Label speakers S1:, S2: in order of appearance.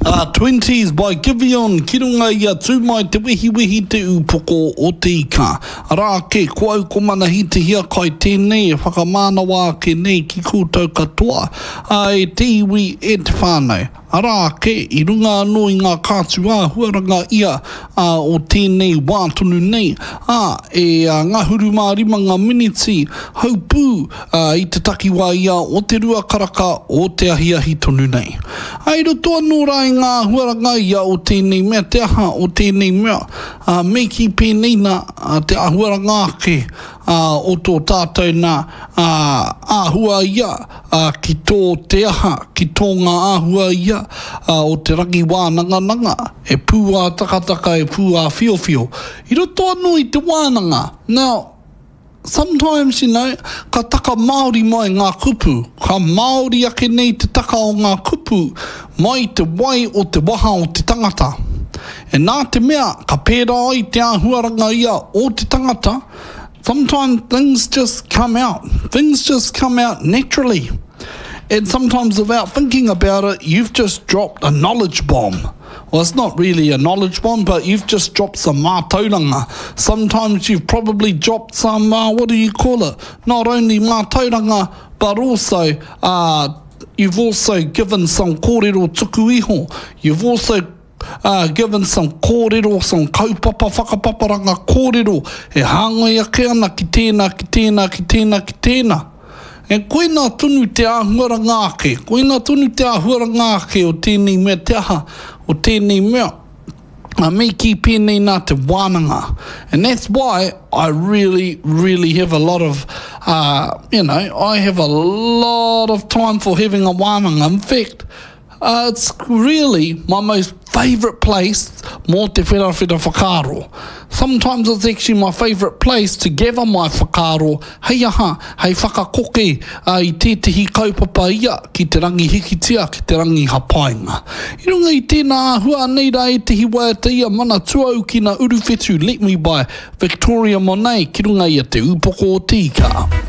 S1: A Twenties by Giveon ki runga i a Tū Mai Te Wehiwehi Te Ūpoko o Te Ika. Arā ake, ko au ko Manahi Te Hiakai tēnei e whakamānawa ake nei ki koutou katoa, ā, e te iwi, e te whānau. Arā ake, i runga anō i ngā kātū āhuaranga ia ā, o tēnei wā tonu nei, ā, e ngahuru mā rima ngā miniti haupū ā, i te takiwā ia o te rua karaka o te ahiahi tonu nei. Ā, i roto anō rā i ngā āhuaranga ia o tēnei mea, te aha o tēnei mea, ā, me kī pēnei nā, ā, te āhuaranga ake, ā, o tō tātou nā, ā, āhua ia, ā, ki tō te aha, ki tō ngā āhua ia, ā, o te rangi wānangananga, e pūātakataka, e pūāwhiowhio. I roto anō i te wānanga, now, sometimes, you know, ka taka Māori mai ngā kupu, ka Māori ake nei te taka o ngā kupu mai i te wai o te waha o te tangata. E nā te mea, ka pērā ai te āhuaranga ia o te tangata, sometimes things just come out. Things just come out naturally. And sometimes without thinking about it, you've just dropped a knowledge bomb. Well, it's not really a knowledge bomb, but you've just dropped some mātauranga. Sometimes you've probably dropped some, uh, what do you call it? Not only mātauranga, but also uh, you've also given some kōrero tuku iho. You've also uh, given some kōrero, some kaupapa whakapaparanga kōrero e hāngai ake ana ki tēnā, ki tēnā, ki tēnā, ki tēnā. E koina tonu te āhuaranga ake, koina tonu te āhuaranga ake o tēnei mea te aha, o tēnei mea. A me kī pēnei nā te wānanga. And that's why I really, really have a lot of, uh, you know, I have a lot of time for having a wānanga. In fact, Uh, it's really my most favourite place mō te wherawhera whakaaro. Sometimes it's actually my favourite place to gather my whakaaro hei aha, hei whakakoke uh, i tētehi kaupapa ia ki te rangi hikitia, ki te rangi hapainga. I runga i tēnā āhua anei rā ētehi waiata ia mana tuaukina uruwhetu Let Me by Victoria Monet ki runga i a Te Ūpoko o Te Ika.